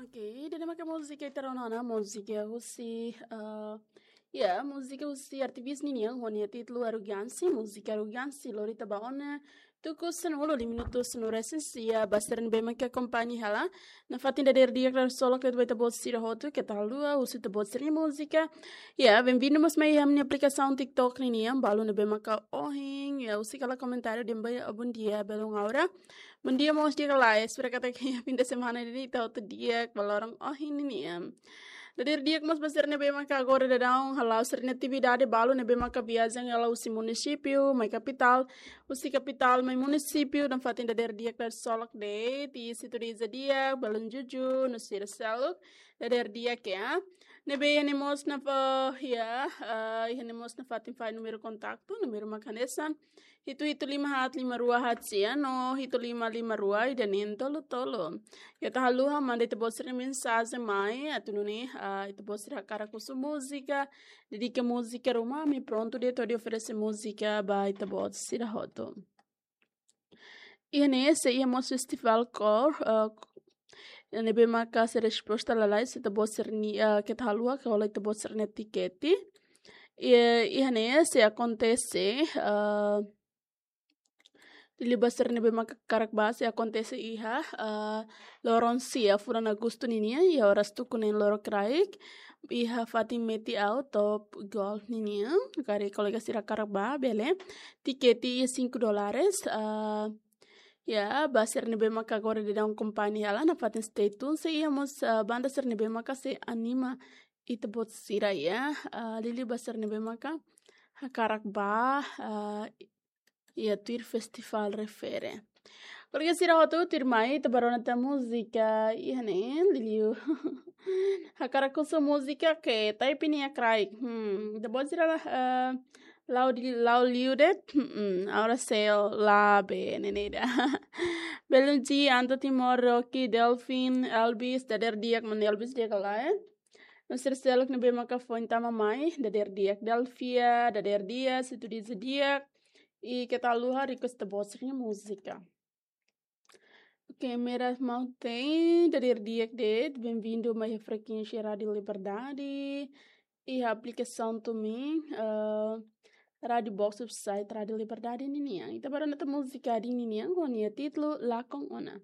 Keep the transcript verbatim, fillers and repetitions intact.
Oke, ida-ne'e maka múzika ita rona ona, múzika husi, eh, ya, múzika husi Artivis ninian, ho nia títulu Arrogansi, múzika Arrogansi, lori ita ba ona, tuku sanulu, lima minutu sanulu-resin-sia, ba sira ne'ebé maka akompaña hela, nafatin dadeer di'ak, dadeer solok, ba ita-boot sira hotu, keta haluha, husu ita-boot sira-nia múzika. Ya, bem-vindo mós mai iha ha'u-nia aplikasaun TikTok ninian, balu ne'ebé maka ohin, ya, husik hela komentáriu dehan ba, bondia, belun aura. Bondia mós di'ak ka lae, espera katak iha fim de semana ne'e ita hotu di'ak, ba loron ohin ninian. Dadeer di'ak mós ba sira ne'ebé maka agora daudaun hala'o sira-nia atividade, balu ne'ebé maka viajen hela husi munisípiu mai kapitál, husi kapitál mai munisípiu, nafatin dadeer di'ak, dadeer solok de'it, i sintonia di'ak, belun Juju, no sira seluk, dadeer di'ak ya. Ne'ebé iha ne'e mós nafa-, ya, eh, iha ne'e mós nafatin fali númeru kontaktu, númeru maka hanesan hitu hitu lima haat lima rua haat sia no hitu lima lima rua ida neen tolu tolu. Keta haluha manda ita-boot sira-nia mensajen mai, atu nune'e, ah, ita-boot sira hakarak husu múzika, dedika múzika ruma, ami prontu de'it hodi oferese múzika ba ita-boot sira hotu. Iha ne'e sei iha mós festival kór, eh, ne'ebé maka sei resposta lalais ita-boot sira-nia, eh, keta haluha, keta hola ita-boot sira-nia tikete. I, iha ne'e sei akontese, eh, liuliu ba sira ne'ebé maka hakarak bá, sei akontese iha, eh, loron sia fulan Agostu ninian, iha oras tuku neen lorokraik, iha fatin Meti-Aut Top Golf ninian, karik kolega sira hakarak bá, bele. Tikete iha cinco dólares, eh, ya, ba sira ne'ebé maka agora daudaun akompaña hela, nafatin stay tune, sei iha mós, eh, banda sira ne'ebé maka sei anima ita-boot sira ya, eh, liuliu ba sira ne'ebé maka hakarak bá, eh, iha tuir festival refere. Kolega sira hotu tuirmai, ita bá rona tan múzika iha ne'e, liuliu. Hakarak husu múzika ke, tapi nia kraik. Hmm, ita-boot sira la, eh, la'o di, la'o liu de'it, hmm, aura sel la be, ne'e ida. Belun G, Anto Timor, Rocky, Delfin, Elvis, dadeer di'ak, mana Elvis di'ak ka lae. No sira seluk ne'ebé maka foin tama mai, dadeer di'ak Delfia, dadeer di'ak, sintonia di'ak, i keta haluha request ita-boot sira-nia múzika. Oke, Mera Mountain, dadeer di'ak de'it, bem-vindo mai iha frekuénsia Rádio Liberdade, iha aplikasaun TuneIn, eh, Rádio Box website Rádio Liberdade ninian. Ita bá rona tan múzika Adin ninian, ho nia títulu Lakon Ona.